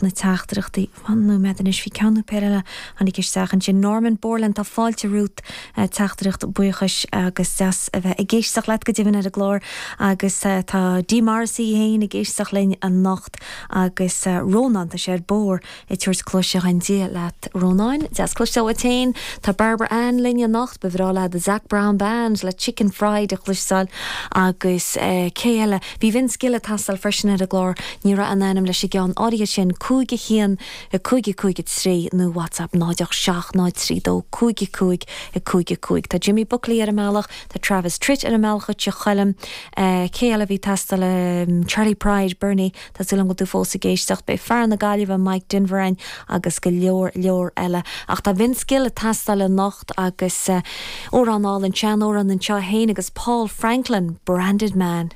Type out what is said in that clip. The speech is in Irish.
Na teachtaireachtaí. Fan nóiméad anois, bhí ceann nó péire eile a tháinig isteach ansin. Norman Borland, tá fáilte romhat, teachtaireacht buíochais agus deas a bheith ag éisteacht leat go deimhin ar an gclár agus tá Dee Morrissey féin ag éisteacht linn anocht agus Rónán, tá sé ar bóthar ag tabhairt cluaise dhuinn. Dia leat Rónán, deas cloisteáil uait féin. Tá Barbara Ann linn anocht, ba bhreá léi The Zac Brown Band le Chicken Fried a chloisteáil agus cé eile? Bhí Vince Gill ag teastáil freisin ar an gclár, ní raibh aon ainm leis an gceann áirithe sin, 5 1 5 5 3 nó WhatsApp 0 8 7 0 3 2 5 5 5 5. Tá Jimmy Buckley ar an mbealach, tá Travis Tritt ar an mbealach chuig Tigh Choilm, cé eile a bhí ag teastáil, Charley Pride, Bernie, tá súil agam go bhfuil tú fós ag éisteacht, beidh fear na Gaillimhe Mike Denver ann agus go leor leor eile. Ach tá Vince Gill ag teastáil anocht agus amhrán álainn, sean-amhrán anseo, é féin agus Paul Franklin, Branded Man.